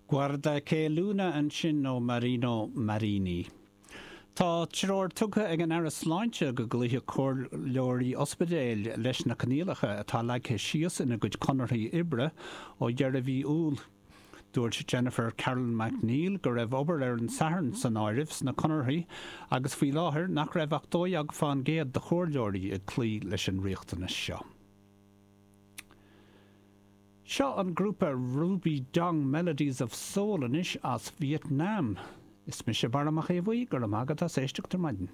Guarda che Luna ansin ó Marino Marini. Tá treoir tugtha ag an Aire Sláinte go gcloífeadh comhairleoirí ospidéil leis na coinníollacha atá leagtha síos ina gcuid conarthaí oibre ó dheireadh mhí Iúil. Dúirt Jennifer Carroll MacNeill go raibh obair ar an Satharn san áireamh sna conarthaí agus faoi láthair nach raibh ach 12 fán gcéad de chomhairleoirí ag cloí leis an riachtanas seo. Seo an grúpa Ruby Dong Melodies of Soul anois as Vietnam. Is mise Barra Mac Aodha Bhuí, go raibh maith agat as éisteacht ar maidin.